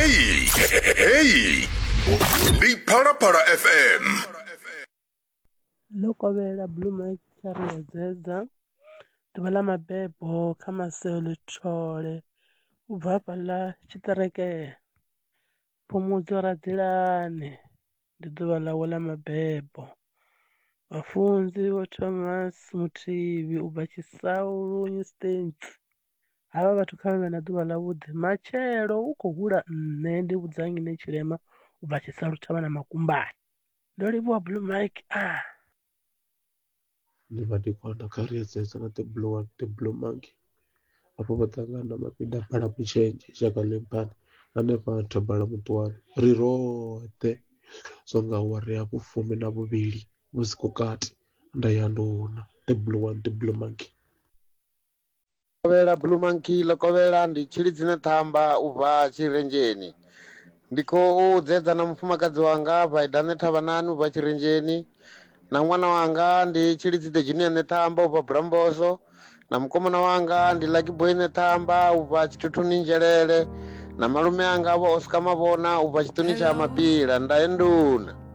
Hey, hey, ndi Phalaphala FM. Ḽo kovhela Blue Mike kha ri dzedza ḓuvha ḽa mabebo kha Maseo Lethole u bva hafhaḽa tshiṱereke Phumudzo Radzilani ndi ḓuvha ḽawe ḽa mabebo. Vhafunzi Vho Thomas Muthivhi ubva Tshisaulu Stanley havha vhathu kha vha vhe na ḓuvha ḽa vhuḓi matshelo u khou hula nṋe ndi vhudza nnyi ne tshilema u bva Tshisalu thavha na Makumbane. Ndo livhuwa Blue Mike ah. Ndi madekwana kha ri edzedza na the blue one the blue monkey afho vha ṱangana na mapinda bala mutshenzhe shaka ḽimphani hanefha thabala muṱuwani ri roṱhe so nga awara ya vhufumi na vhuvhili vhusiku kati nda ya nduna the blue one the blue monkey. Kovhela Blue Monkey ḽo kovhela ndi Tshilidzi Ṋethamba u bva Tshirenzheni. Ndi khou dzedza na mufumakadzi wanga Vaida Ṋethavhanani u bva Tshirenzheni na ṅwana wanga ndi Tshilidzi The Junior Ṋethamba u bva Bulamboso na mukomana wanga ndi Lucky Boy Ṋethamba u bva Tshithuthuni Nzhelele na malume anga vho Oscar Mavhona u bva Tshiṱuni tsha Mapila. Ndae nduna.